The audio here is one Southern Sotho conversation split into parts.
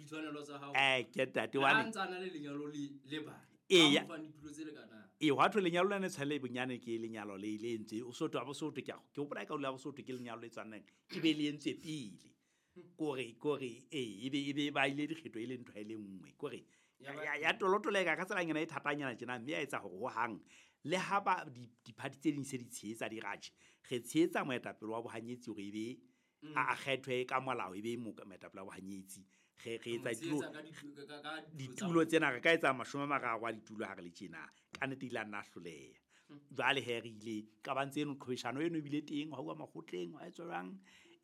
Ditshwanelo tsa hao. Ke ntate Le wa ha ne ntse a na le lenyalo le bana. Eya. Ba mo fang ditulo tse lekanang. Ee, hwa thwe lenyalo lena tshwanele bonyane ke lenyalo le entswe o sotho wa bosotho ke hopola e ka hula bosotho ke lenyalo le tshwanang e be le entswe pele kore ee ebe ba ile dikgetho e le ntho e le nngwe kore ya tolotoleka ka tselanyana e thatanyana tjena mme ya etsa hore hohang le ha ba di-party tse ding se di tshehetsa di ratjhe re tshehetsa moetapele wa bohanyetsi hore ebe a kgethwe ka molao ebe moetapele wa bohanyetsi re etsa ditulo tsena re ka etsa 30 a ditulo ha re le tjena ka nnete ile a nna hloleha. Jwale he re ile qabang tseno qhwebeshano eno ebile teng ha uwa makgotleng wa etswa jwang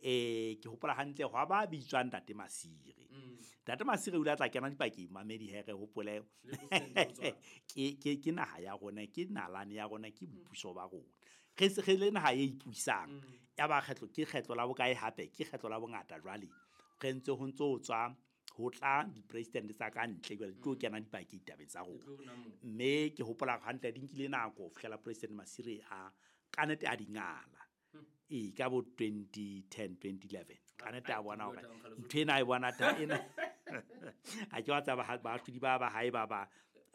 ke hopola hantle hwa ba bitswang Ntate Masire. Ntate Masire o ile a tla kena dipakeng mamedi he re hopole ke naha ya rona ke nalane ya rona ke boipuso ba rona re se re le naha e ipusang ya ba kgetlo ke kgetlo la bokae hape ke kgetlo la bongata jwale re ntse ho ntso tswa ho tla di-president tsa ka ntle jwale di tlo kena dipakeng ditabeng tsa rona mme ke hopola hantle di nkile nako ho fihlela President Masire a ka nnete a di ngala ee ka bo 2010 2011 ka nnete a bona hore ntho ena a e bona ta ena a ke wa tsaba baahlodi ba ba hae ba ba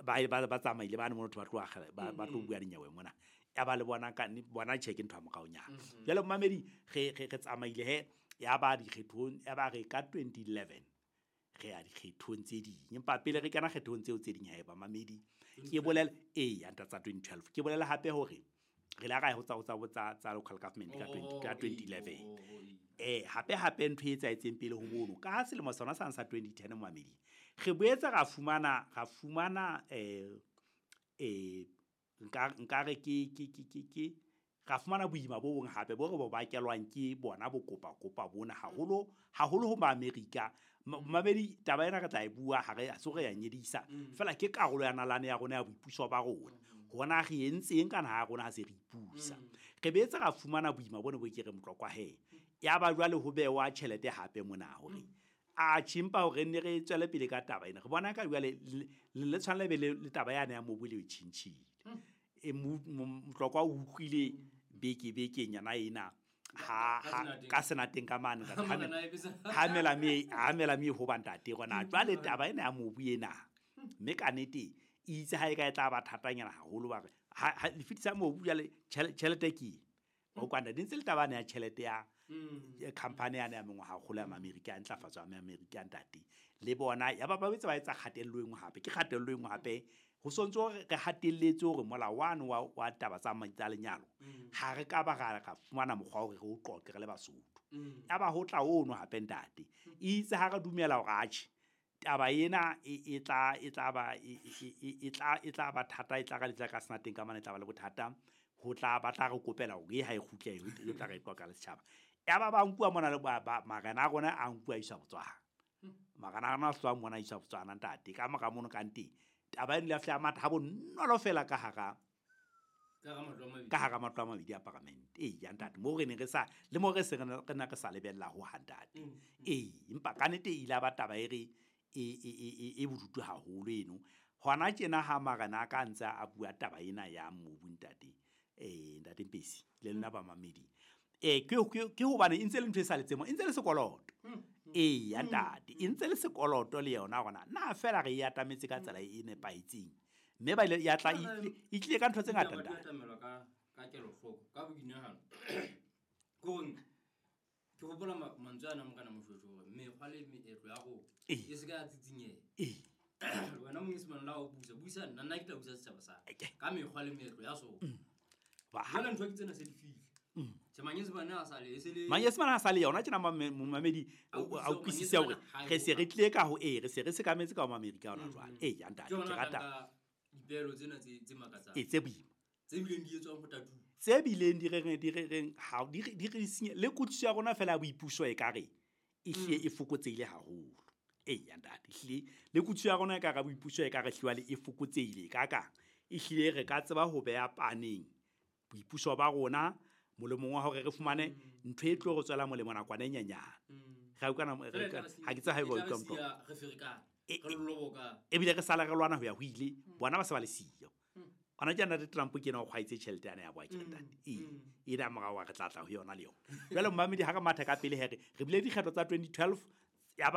ba tsamaile ba ne motho ba tlo ba tlo bua dinyewe mona ya ba le bona ka bona tjhe ke ntho ya moraonyana. Jwale momamedi re tsamaile he ya ba dikgethong ya ba re ka 2011 re ya dikgethong tse ding empa pele re kena kgethong tseo tse ding haeba mamedi ke bolela ee ya nta tsa 2012 ke bolela hape hore re la ra ho tsa local government ka 2011 hape ntho e etsahetseng pele ho mono ka selemo sona sa 2010 momamedi re boetse ra fumana nka re ke ra fumana boima bo bong hape bo re bo bakelwang ke bona bo kopa bona haholo haholo ho Maamerika. Mamedi taba ena re tla e bua ha re so re ya nyedisa fela ke karolo ya nalane ya rona ya boipuso ba rona hona re entseng kana ha rona ha se re ipusa re boetse ra fumana boima bona bo ke re motlokwa he ya ba jwale ho bewa tjhelete hape mona hore a chimpa hore ne re tswele pele ka taba ena re bona ka jwale le tshwanela be le taba yana ya mobu le tjhintjhile e motlokwa o utlwile beke nyana ena ha ka senateng ka mane ha mela me ho ba ntate rona jwale taba ena ya mobu ena mme ka nnete itse ha e ka e tla ba thatanyana haholo ba re ha le fetisa mobu jwale tjhelete ke o kwanda di ntse le taba ya tjhelete ya company ya mengwaha kgolo ya Amerika ya ntlafatso ya Amerika ntate le bona ya ba ba etsa kgatello e nngwe hape ke kgatello e nngwe hape ho sontso re hatelletse hore molao wa wa taba tsa lenyalo ha re ka ba ra fumana mokgwa hore re o qoqe re le Basotho ya ba ho tla ono hape ntate itse ha re dumela hore atjhe taba ena e tla ba thata e tla ka letla ka senateng ka mane e tla ba le bothata ho tla ba tla re kopela hore e ha e kgutle e tla re qoqa le setjhaba ya ba ba nkuwa mona le ba marena a rona a nkuwa isa Botswana marena a rona a hlwa mona isa Botswana ntate ka mora mono ka nteng taba eno le fihla matha ha bonolo fela ka hara matlo a mabedi a paramente ee ya ntate mo re ne re sa le mo re se re na re sa lebella ho ha ntate ee empa ka nnete e ile ba taba e re e bodutu haholo eno hona tjena ha marena a ka ntse a bua taba ena ya mobu ntate ntate Mpesi le lona ba mamedi ke hobane e ntse le ntho e sa letsemo e ntse le sekoloto ee ya ntate e ntse le sekoloto le yona rona na fela re e atametse ka tsela e nepahetseng mme ba ile ya tla e tlile ka ntho tse ngata ntate ka kelohloko ka boinahano ke ke hopola mantswe ana mokana Moshoeshoe hore mekgwa le meetlo ya rona e se ka ya tsitsinyeha wena monyesemane la o busa nna ke tla busa setjhaba sa ka mekgwa le meetlo ya sona jwale ntho ke tsena se di fihle manyesemane a sa le manyesemane a sa le yona tjena momamedi a utlwisise hore re se re tlile ka ho re se re sekametse ka ho Maamerika hona jwale ee ya ntate ke rata dipehelo tsena tse makatsang tse boima tse bileng di etswang ho tatu tse bileng di reng ha di re senye le kutlwisiso ya rona fela ya boipuso e ka re e hlile e fokotsehile haholo ee ya ntate ehlile le kutlwisiso ya rona e ka re boipuso e ka re hliwa le e fokotsehile ka kang ehlile re ka tseba ho beha paneng boipuso ba rona molemong wa hore re fumane ntho e tlo re tswela molemo nakwana e nyenyane re utlwana ha ke tse ha e ba utlwa motho ebile re sala re lwana ho ya ho ile bona ba se ba le siyo ona ke ntate Trump ke ena o kgwaetse tjhelete yana ya boa ke ntate e na morao wa re tla tla ho yona le yona jwale momamedi ha re matha ka pele here re bile dikgetho tsa 2012 ya ba